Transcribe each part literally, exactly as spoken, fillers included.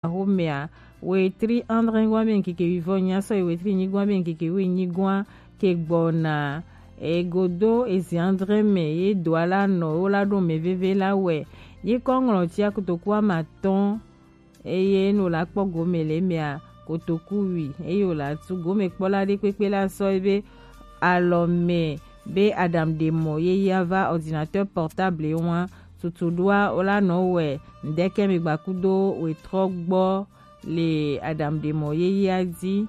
Axomɛa, wetri adre gɔn be ŋkeke wivɔ nyi asɔ yi wetri nyigoa be ŋkeke wi nyigoa ke gbɔna. Egodo ezi adre mɛ ye do ala nɔ wo la ɖo mɛ veve la wɛ. Nyikɔ ŋlɔ tia kotoku amatɔn eye no la kpɔ gome le mɛa kotoku wi eye wo la tu gome kpɔ la ɖe kpekpe la sɔ ebe alɔ mɛ be aɖaŋuɖemɔ ye ya va ordinateur portable wa tutu ɖoa wo la nɔ wɛ ŋdɛkɛ mi gbakudo wetrɔ gbɔ le aɖaŋuɖemɔ ye ya di.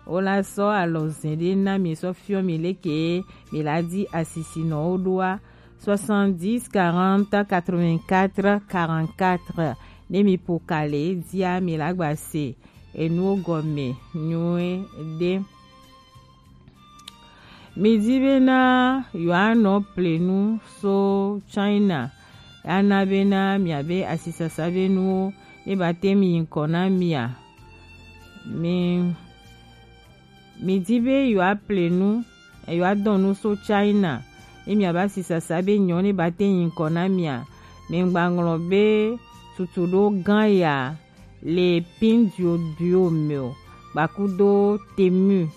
Wo la sɔ alɔ zɛn ɖe na mi sɔ fiɔ mi leke mi la di asisi nɔ wo ɖoa soixante-dix quarante quatre-vingt-quatre quarante-quatre. Ne mi po kale dia mi la gba se enuwo gɔme nyuie ɖe. Mi di bena yewoanɔ ple nu so China, ana bena miabe asisasa be nuwo ne ba te mi ŋkɔ na mia. Mi mi di be yewoaple nu, yewoadɔn nu so China, ye miabe asisasa be nyɔ ne ba te ŋkɔ na mia. Mi ŋgba ŋlɔ be tutu ɖo gan ya le pin duo duo mɛ o, gbakudo temu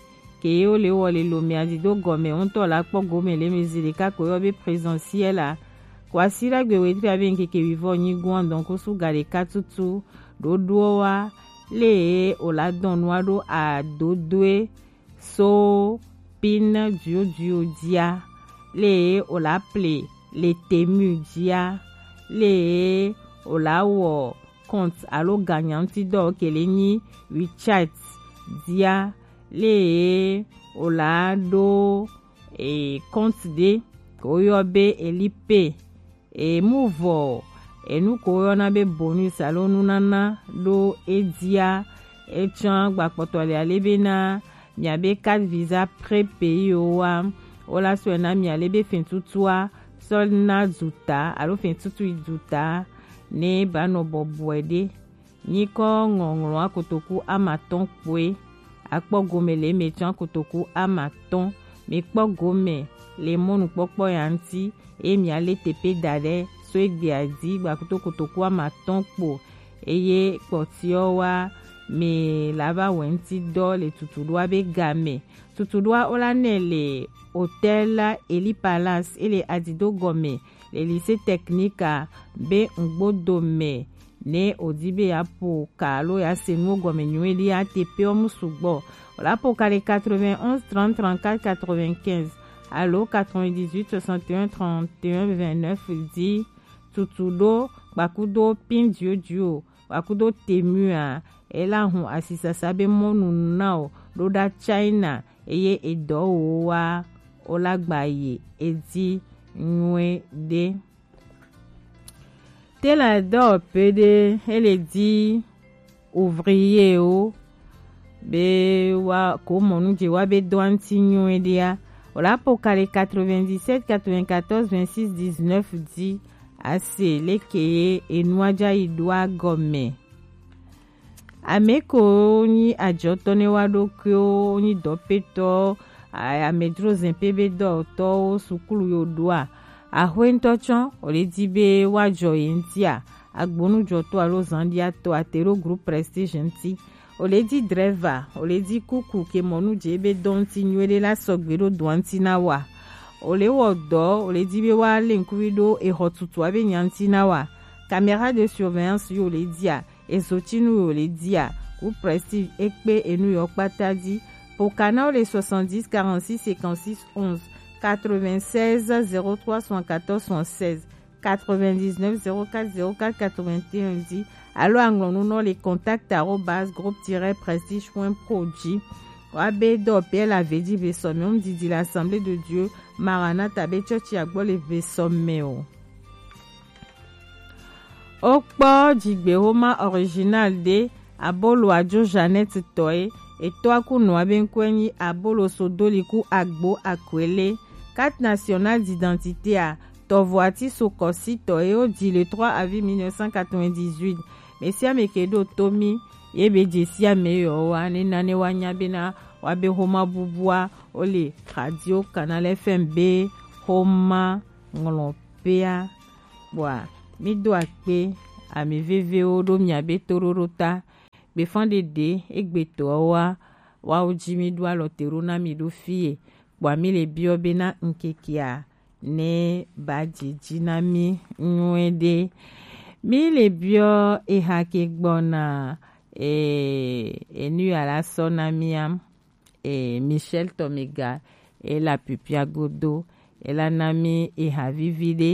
ke ye wo le wɔ le lo mɛ adi do gɔme ŋutɔ la kpɔ gome le mi zi ɖeka ko yɔ be présentiel la. Ko asi la gbe wetri abe ŋkeke wivɔ nyigoa donc suga ɖeka tutu ɖoɖoɔ wa le o la dɔn nua ɖo adodoe so pin duo duo dia le o la ple le temu dia le o la wɔ compte alo ganyaŋutidɔ kele nyi WeChat dia le o la ɖo e compte ɖe ko yɔ be Elipay. E mu vɔ enu ko yɔna be bonus alo nunana ɖo edia. Etsã gbakpɔtɔ le ale bena miabe carte visa prépayé o wa wo la sɔe na mia le be fin tutua sɔ na duta alo fin tutu yi duta ne ba nɔ bɔbɔe ɖe. Nyikɔ ŋɔŋlɔ akotoku amatɔn kpoe akpɔ gome le mɛ tsɔ akotoku amatɔn. Mi kpɔ gome le mɔnukpɔkpɔ ya ŋuti eye mia le tepe da ɖe so egbea di gbakuto kotoku amatɔn kpo eye kpɔtiɔ wa mi la va wɛ ŋuti dɔ le tutuɖoa be game. Tutuɖoa wo la nɛ le hôtel Eli Palace ele adido gɔme le lycée technique a be ŋgbodo mɛ ne o di be ya po ka alo ya se nuwo gɔme nyuie ɖi ya te pe ɔ mu sugbɔ. O la po ka le quatre-vingt-onze trente trente-quatre quatre-vingt-quinze alo quatre-vingt-dix-huit soixante et un trente et un vingt-neuf di tutuɖo gbakudo pin duo duo gbakudo temu a e la hun asisasa be mɔnu na o ɖo ɖa China eye edɔ wo wa o la gba ye edi nyuie ɖe. Te la dɔ pe ɖe ele di ouvrier o be wa ko mɔnu je wa be dɔ anti nyuie ɖe a. O la po ka le quatre-vingt-dix-sept quatre-vingt-quatorze vingt-six dix-neuf di ase leke ye enua ja yi ɖoa gɔme. Ame ko nyi ajɔtɔ ne wa ɖokuiwo nyi dɔpetɔ amedro zɛn pe be dɔtɔwo sukulu yo ɖoa. Axwe ŋutɔ tsɔ o le di be wa jɔ ye ŋutia agbonujɔtɔ alo zanɖiatɔ ate ɖo groupe prestige ŋuti. O le di drɛva o le di kuku ke mɔnu je be dɔ ŋuti nyuie ɖe la sɔgbe ɖo dɔa ŋuti na wa. O le wɔ dɔ o le di be wa le ŋkuvi ɖo exɔ tutua be nya ŋuti na wa. Caméra de surveillance yo le dia ezotinu yo le dia ku prestige ekpe enu yo kpata di. Pokana o le soixante-dix quarante-six cinquante-six onze quatre-vingt-seize zéro trois soixante-quatorze soixante-seize quatre-vingt-dix-neuf zéro quatre zéro quatre quatre-vingt-un di alo aŋlɔ nu nɔ le contact arobase groupe tiret prestige point pro di. Wa be dɔ pe la ve di ve sɔ mɛ o mu didi l'Assemblée de Dieu Maranatha be church agbɔ le ve sɔ mɛ o. Wokpɔ dzigbexoma original ɖe abolo adzo Jeannette tɔe. Etɔa ku nɔa be ŋkɔe nyi abolo sodoli ku agbo akwele. Carte nationale d'identité a tɔvo ati so kɔsi tɔe wo di le trois avril mille neuf cent quatre-vingt-dix-huit. Mesiame ke ɖo to mi ye be dzesi ame yɔ wa ne nane wa nya bena wa be xoma bubua wo le radio Canal F M be xoma ŋlɔ pea. Kpɔa, mi do akpe ami vevewo ɖo miabe toɖoɖo ta. Gbefan ɖeɖe egbetɔ wa, wawo ji mi ɖo alɔ te ɖo na mi ɖo fie. Kpɔa mi le biɔ be na ŋkekea ne ba jiji na mi nyuie ɖe. Mi le biɔ eha ke gbɔna e, enu ya la sɔ na mia e, Michel Tomega e la pipia godo e la na mi eha vivi ɖe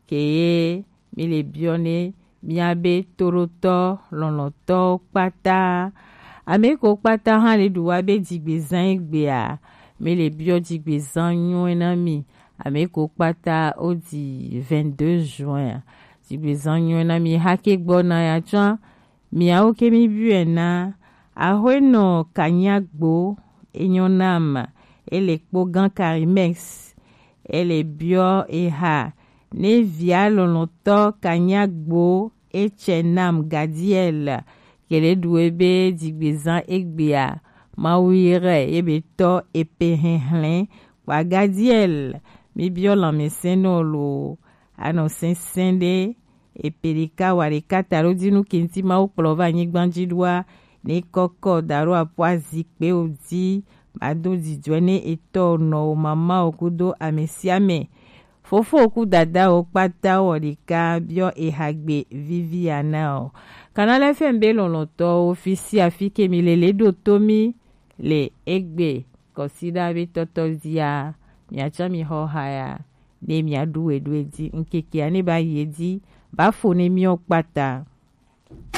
ke ye mi le biɔ ne miabe toɖotɔ lɔlɔtɔwo kpata. Ame ko kpata hã le ɖu wa be dzigbezã egbea, mi le biɔ dzigbezã nyuie na mi. Ame ko kpata o di vingt-deux juin. Dzigbezã nyuie na mi hake gbɔna ya tsã. Miawo ke mi biɔe na Ahuenɔ Kanyagbo, enyo nam, ele kpo gan Karimex, ele biɔ eha ne via lɔlɔtɔ Kanyagbo etsɛ nam Gadiel, kele ɖu ebe dzigbezã egbea, Mawu yi rɛ ebe tɔ epe hɛhlɛ kpa Gadiel, mi biɔ lãmesẽ nɔ lo, anɔ sɛnsɛn ɖe, epe ɖeka wa ɖeka ta ɖo dzi nu kenti Mawu kplɔ va anyigba dzi ɖoa, ne kɔkɔ da ɖo apo azikpewo dzi, ba do dzidzɔe ne etɔ nɔ wo mama wo kudo ame sia ame. Fofo ku dada wo kpata wɔ ɖeka biɔ eha gbe vivi ya na o. Canal F M be lɔlɔtɔwo fi si afi ke mi lele ɖo to mi le egbe kɔsiɖa be tɔtɔ zia miatsɔ mi xɔ ha ya ne miaɖu we ɖu edzi ŋkekea ne ba yi edzi ba fo ne miɔ kpata.